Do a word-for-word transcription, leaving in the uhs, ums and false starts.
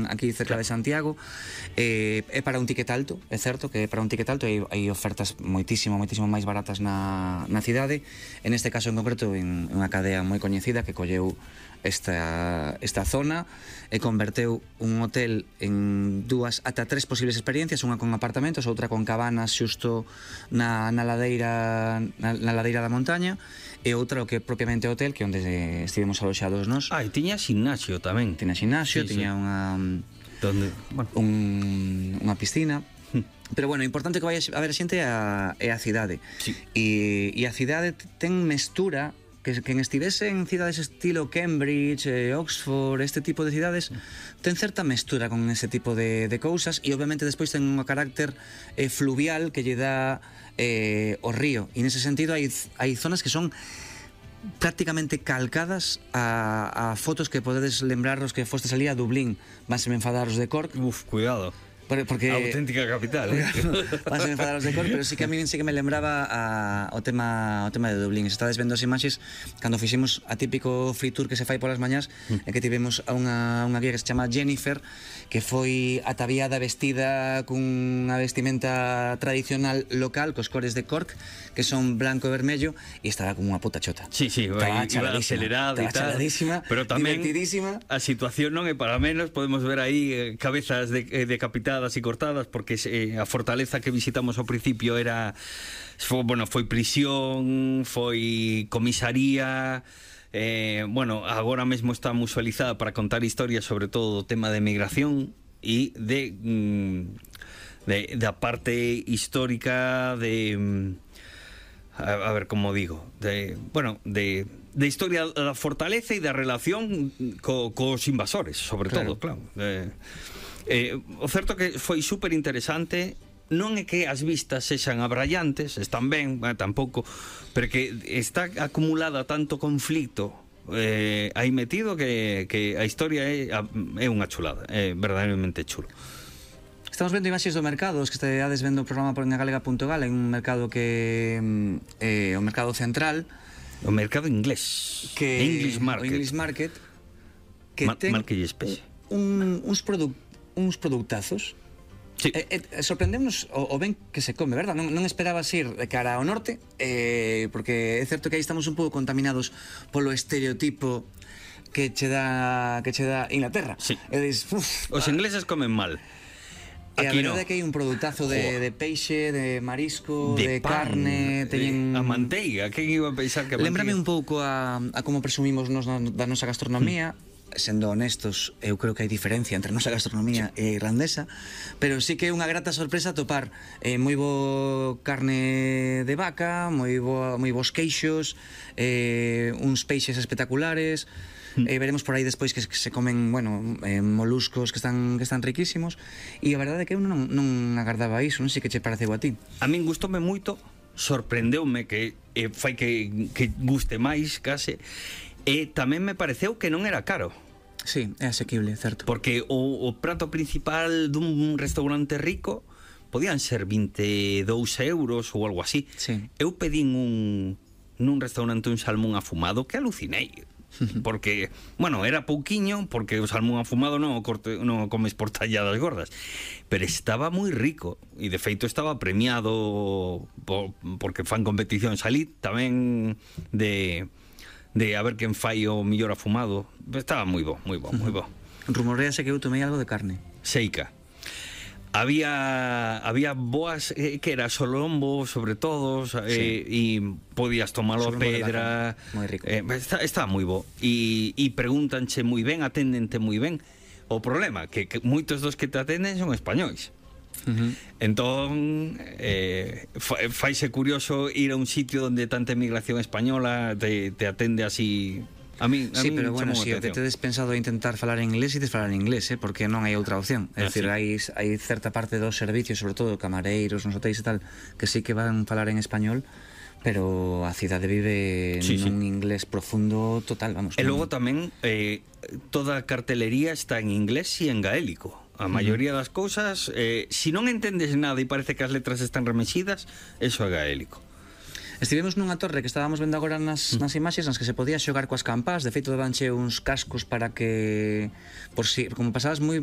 aquí cerca de Santiago. eh, É para un ticket alto, é certo que é para un ticket alto, e hai ofertas moitísimo, moitísimo máis baratas na, na cidade. En este caso en concreto, en unha cadea moi coñecida que colleu esta, esta zona e converteu un hotel en dúas ata tres posibles experiencias, unha con apartamentos, outra con cabanas xusto na, na ladeira na, na ladeira da montaña, e outra o que é propiamente hotel, que é onde estivemos aloxados nós. Ah, e tiña ximnasio tamén. Tiña ximnasio, Sí, tiña sí. unha Donde, bueno. un, unha piscina. Pero bueno, o importante que vai a ver a xente é a, é a cidade. Sí. E, e a cidade ten mestura que quen estivese en cidades estilo Cambridge, eh, Oxford, este tipo de cidades, ten certa mestura con ese tipo de, de cousas, e obviamente despois ten un carácter eh, fluvial que lle dá eh, o río, e nese sentido hai, hai zonas que son prácticamente calcadas a, a fotos que podedes lembraros que fostes ali a Dublín. Vanse me enfadaros de Cork. Uf, cuidado. Porque a auténtica capital, eh? Vanse me enfadaros de Cork, pero sí que a mí sí que me lembraba a, o tema o tema de Dublín. Se estades vendo as imaxes cando fixemos a típico free tour que se fai polas mañás, mm. e que tivemos a unha, unha guía que se chama Jennifer, que foi ataviada, vestida cunha vestimenta tradicional local, cos cores de Cork, que son blanco e vermello, e estaba como unha puta chota. Sí, sí, estaba iba acelerada e tal, pero tamén divertidísima. A situación non é para menos, podemos ver aí eh, cabezas de, eh, decapitadas e cortadas, porque eh, a fortaleza que visitamos ao principio era foi, bueno, foi prisión, foi comisaría. Eh, bueno, agora mesmo está musualizada para contar historias sobre todo o tema de migración e de, mm, de da parte histórica de mm, a, a ver como digo, de, bueno, de de historia da fortaleza e da relación co, cos invasores, sobre claro. todo, claro. Eh, Eh, o certo que foi super interesante. Non é que as vistas sexan abrallantes, están ben, eh, tampouco, pero que está acumulada tanto conflito eh, aí metido que, que a historia é, é unha chulada, é verdadeiramente chulo. Estamos vendo imaxes do mercado, os que esteades vendo o programa por galega punto gal, en un mercado que é eh, o mercado central, o mercado inglés, que English Market, o English Market, que Ma ten market especie. un, uns produtos uns produtazos. Sí. Eh, eh, sorprendemos o, o ben que se come, verdad? Non, non esperabas ir de cara ao norte, eh, porque é certo que aí estamos un pouco contaminados polo estereotipo que che dá que che dá Inglaterra. Sí. E dis, uf, os ingleses comen mal. E a Aquí verdade no. é que hai un produtazo de, de peixe, de marisco, de, de pan, carne, teñen... a manteiga, quen iba a pensar que a Lémbrame un pouco a, a como presumimos nos na, da nosa gastronomía. Mm. Sendo honestos, eu creo que hai diferencia entre a nosa gastronomía sí. e irlandesa, pero sí que é unha grata sorpresa topar eh, moi bo carne de vaca, moi bo, moi bons queixos, eh, uns peixes espectaculares. Mm. Eh, veremos por aí despois que se comen, bueno, eh, moluscos que están que están riquísimos, e a verdade é que eu non, non agardaba iso, non sei que che pareceu a ti. A min gustoume moito, sorprendeume que eh, fai que, que guste máis case. E tamén me pareceu que non era caro. Sí, é asequible, certo. Porque o, o prato principal dun restaurante rico podían ser vinte e dous euros ou algo así. Sí. Eu pedín un nun restaurante un salmón afumado que alucinei. Porque, bueno, era pouquiño, porque o salmón afumado non o, corte, non o comes por talladas gordas, pero estaba moi rico, e de feito estaba premiado por, porque fan competición. Salí tamén de... de a ver quen fai o millor afumado. Estaba moi bo, moi bo, moi bo. Rumorease que eu tomei algo de carne. Seica. Había había boas eh, que era solombo sobre todo, eh, e podías tomalo a pedra. Moi rico. Eh, está, está moi bo. E, e pregúntanche moi ben, aténdente moi ben. O problema que, que moitos dos que te atenden son españois. Uh-huh. Entón eh, faise curioso ir a un sitio donde tanta emigración española te, te atende así. A mí, a sí, mí pero bueno, si o que tedes pensado intentar falar en inglés, ides falar en inglés, eh, porque non hai outra opción. É ah, dicir, sí. hai, hai certa parte dos servicios, sobre todo camareiros, nos hotéis e tal, que sí que van falar en español, pero a cidade vive sí, nun sí. inglés profundo total, vamos. E logo tamén eh, toda a cartelería está en inglés e en gaélico. A maioría das cousas, eh, si non entendes nada e parece que as letras están remexidas, eso é gaélico. Estivemos nunha torre que estábamos vendo agora nas, nas imaxes nas que se podía xogar coas campás. De feito, dabanche uns cascos para que, por si, como pasabas moi